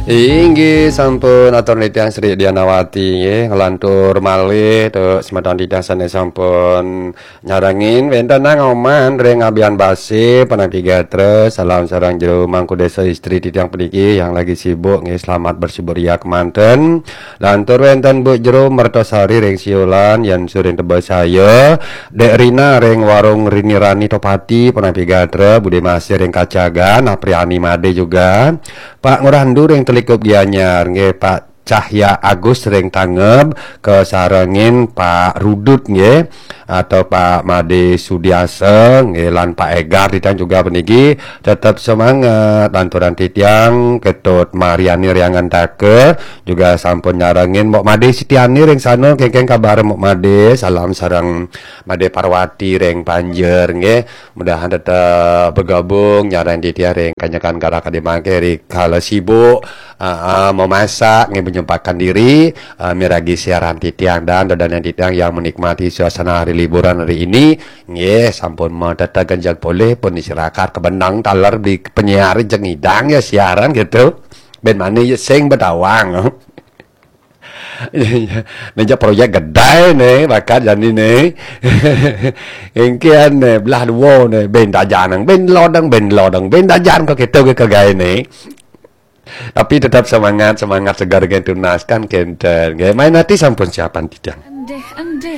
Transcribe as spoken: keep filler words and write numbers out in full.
Inggih sampun atur titiang Sri Dianawati nggih, nglantur malih tu semeton titiang sane sampun nyarengin wenten nang oman ring Abian Base, Penampi Gatra, salam sareng jero mangku desa istri titiang puniki yang lagi sibuk nggih, selamat bersibuk ria kemanten. Lantur wenten Bu Jero Mertosari ring Siulan, Yan Surin Tebesaya, Dek Rina ring Warung Rini Rani Topati, Penampi Gatra, Bude Masih ring Kacagan, Apriani Made juga. Pak Ngurandu ring Telikup Gianyar nggih, Pak Cahya Agus ring Tangeb, kasarengin Pak Rudut nggih, atau Pak Made Sudiasa nggih, lan Pak Egar titiang juga puniki tetep semangat. Lanturan titiang Ketut Mariani ring Angantaka juga sampun nyarengin Mok Made Sitiani ring sana, kengkeng kabar Mok Made, salam sareng Made Parwati ring Panjer nggih. Mudahan tetep bergabung nyarengin titiang ring kanyekan garak adi mangke ri kala sibuk, ah, ah, memasak nggih, menyempatkan diri, ah, miragi siaran titiang dan dodonan titiang yang menikmati suasana hari liburan hari ini nggih, sampun matata genjang polih pun istirahat kebenang taler di penyiar jeng idang ya siaran gitu. Ben mane ya sing betawang. Meja proyek gedai ne, bakal jani ne. Engkian ne, belah dua ne, ben dajan, ben lodang, ben lodang, ben dajan kok kita ke kegai ne. Tapi tetap semangat, semangat segar gen tunas kan kenten. Nggih, main hati sampun siapan titiang. Endih-endih